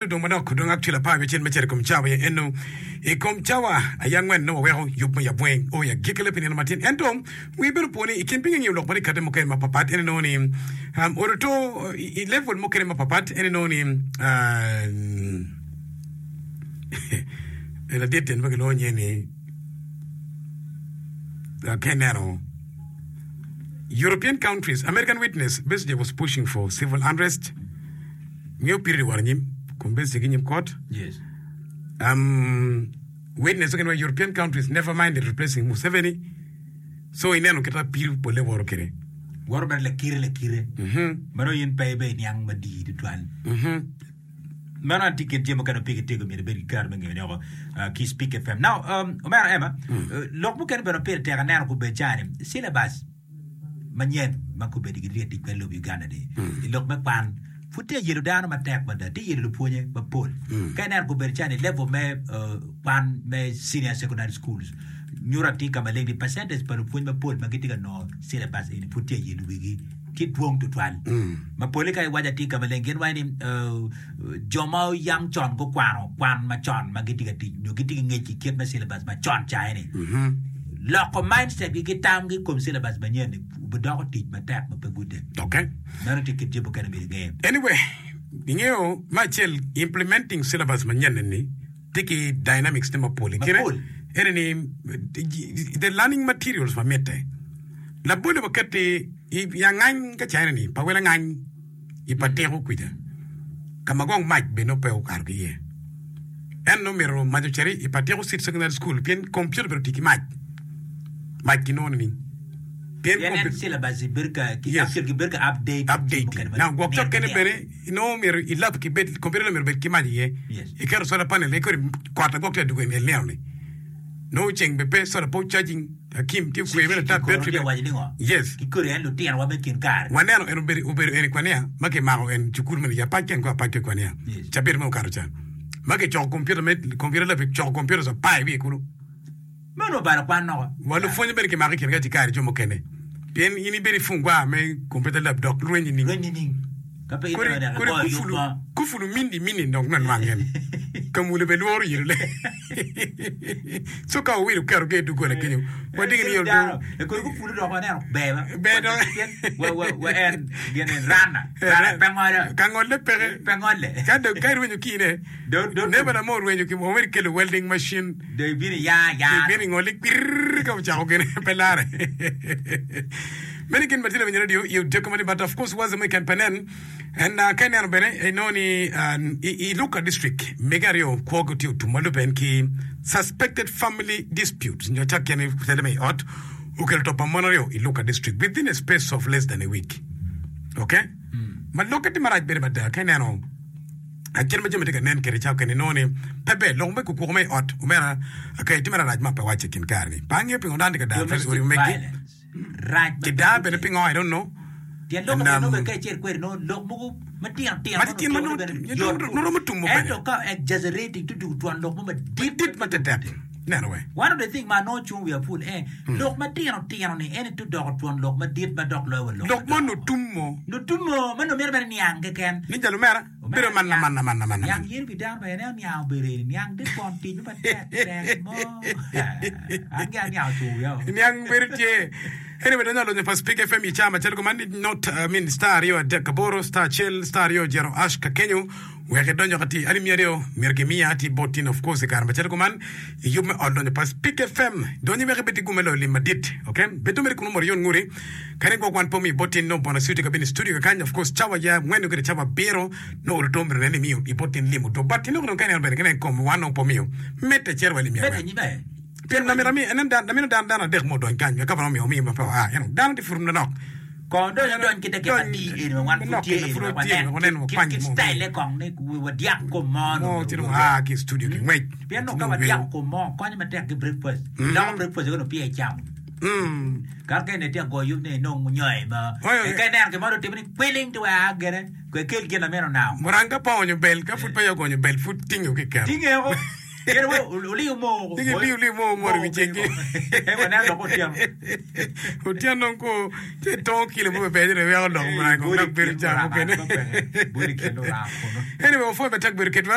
Odong manok odong actually 16 me cito i kom cawa aye eno. I kom cawa aye angwen nongo waweko yub me yabweng o i agikkile pi nino matin. Ento wi bene opo ni i kin piny angiyo lok ma tye kati mukene mapapat en inongo ni um, oruto i level mukene mapapat en inongo ni um, ladit en ma kilwongo nyinge ni uh, ka ineno European countries, American witness Besigye was pushing for civil unrest. Ngeyo piri wot anyim kun bed ki nyim kot. Yes. Um, witness okene wa European countries never minded replacing Museveni. So ineno kita piri pole woro kede. Woro bene lakire lakire. Mhm. Mano in pe ibe niang madii tutwal. Mhm. Mano an tye kit jami mukene ma pigi tego myero ibed ki kare me ngeyone oko uh, ki Speak FM. Now, um, omera Emma, uh, lok mukene bene ma pire tek aneno kubed cani, syllabus manyen ma kobedo gitye ka tic kwede i lobo Uganda ni i lok me kwan pud tye ka yelo dano matek mada tye yelo lupwonye mapol ka ineno kobedo calo i level me kwan me senior secondary schools nyuto atir ka maleng ni percentage pa lupwony mapol ma gitye ka nongo syllabus eni pud tye ka yelo wigi tye dwong tutwal ma pole ka iwaco atir ka maleng gin waco ni jo ma yam con gukwano kwan macon ma gitye ka tic nyo gitye ki ngec i kit me syllabus macon ca eni, loko mindset gi ki tamgi i kom syllabus manyen ni obidoko tic matek ma pe gudde. Okay. Meno tye kit jami mukene myero inge. Anyway, ingeyo me acel implementing syllabus manyen eni tye ki dynamics ne mapol. I kine Mapol. ene ni the learning materials ma mitte. Labolle waket-ti i angany ka ca ene ni pa wel angany. i pa tiko kwija, ka ma gong mac bene nongo pe okato ki iye. En nongo mito mac ocit i pa tiko City Secondary School pien kompiuta obedo tic ki mac. Mac kinongo nining? Pien Pien en kompiuta syllabus bedo ka ki Yes. actually gibedo ka update jami updating. mukene ma Now gwok nino cok ki kene nino. bene inongo myero i lab ki bed kompiuta myero obed ki mac iye. Yes. Iketo solar panel kodi kot agwok tye adugo i nino ni. Nongo ceng bene pe solar pe charging. Akim tye okwe bene tat Kikono battery tye bene. waco ni ngo? Yes. Kikodi en lutinowa me kin kare. Waneno en obedo obedo en i kwania ma kimako en cukul meno i apac ken ko apac ki kwania. Yes. Cabit ma okato ca. Ma kicoko computer me computer lab kicoko computers apar i wiye kulu. Meno obalo kwan noko. Wa lupwonye bene kimako i kin ka cikari jo mukene. Pien in ibedo i fungwa me computer lab dok lweny nining? Lweny nining? Ka pe Kodi ineno dek kodi igoyo yub kufulu mo. kufulu mindi mindi dok nwanwang en. Kamule bene lworo yelo le. So ka owilo keto ge doggola kenyo, wadigi ni Dano, e kodi gupulu dok waneno ber ba. Ber dok. Pien wa wa wa en gin en rana. Rana pe ngolo. Ka ngolle peke. Pe ngolle. Ka dong ka irwenyo kine, Do do neba na mo orwenyo ki omeri kelo welding machine. do ibino ya ya. Ibino ingoli kwirr ka ocako gine pe lare. Meno gin ma tye lawiny radio i odiko mani but of course waze mo i ken pe nen. And uh, ka ineno bene inongo ni uh, i, i Luka district mege aryo kwogi tye otum ma lubbe en ki suspected family disputes nyo cak kene tele me i ot okelo to pa mon aryo i Luka district within a space of less than a week. Okay? Ma lokke tye marac bene mada ka ineno kit ma jami tye ka nen kwede ca okene inongo ni pe ber lok me kukuko me i ot omera okay, tye marac ma pe wacce i kin kare ni. Pe angeyo pingo dano tye ka dar Domestic odi megi. violence. Rac ma Ki pe daa bene gudde. pingo I don't know. Pien lok And, bene um, nongo bene ka icito kwede nongo lok mogo matino tino Matitino ma nongo nongo- bene nongo- yot nongo romo tumo bene. Ento ka exaggerating to dugo twon lok mo madit Madit matetek. Neno we. One of the thing ma anongo cung wiya pul en lok matino tino ni en to doko twon lok madit ma dok loyo wa lok Lok mo madongo. nutumo. Nutumo ma nongo mito bene niang keken. Ni jalo mera. Bedo man man man man man. Niang yen pi dano bene ineno niang obedo eni niang te twon tic mo matek tek mo an gi aniang ocung wiya o. Niang bedo tye. Anyway, donyo alonyo pa Speak FM i caa macalo kuman ni not I mean star 238 star 1 star 2 jero ash ka kenyo wek idonyo ka tye alip 200 myero kimiya ati bot tin of course i kare macalo kuman i yub me ot lonyo pa Speak FM donyo wek ibed ki gum me loyo lim madit okay bed dong mere kunu mot iyon nguri Kadi gwok wan pe omiyo bot tin nongo bonus tye ka bino i studio kakany of course cawa ya angwen nyo kede cawa abiro nongo oluto myero nen ni imiyo i bot tin lim oto but inongo dong ka ineno bene kine kom wan nongo pe omiyo medde cito wa lim ya Medde angwen nyime. pien lamito ami enen dan lamino dan dano adek mo odony kany wek ka omiyo omiyo ma pe oa eno dano tye pud manok Kong dong idony ki dakika Dony adi eni ma wan pud manok tye kene eni pud wek watye wanen wek wanen kit wakwany kit mo style kong ni wadyak kom mo mo nongo ci dong myero aa ki i studio ki ngwec Pien ci nongo ka nongo wadyako yweyo kom mo konyo matek ki breakfast. Iloko breakfast wek onongo peya icamo. Ka ka eni tye ka goyo yub ni inong nyoyo mo, Oyo, ka ineno gin mo dong otime ni kwiling ti wek aa gene, kwe kel gin ma mito nao. Muranga ka pe oonyo bel, ka pud peya ogonyo bel pud tinge ki kero. Tinge woko. Pien we oliyo moo Ci giliyo liyo moo mot i wi ceggi. Waneno dok otyeno. Otyeno dong ko ci tongo kilo mo maber ci dong weko doko marac kong dok bedo ca mukene. Bodi kin luramo kunu. Anyway, wapwoyo matek bedo kedwa.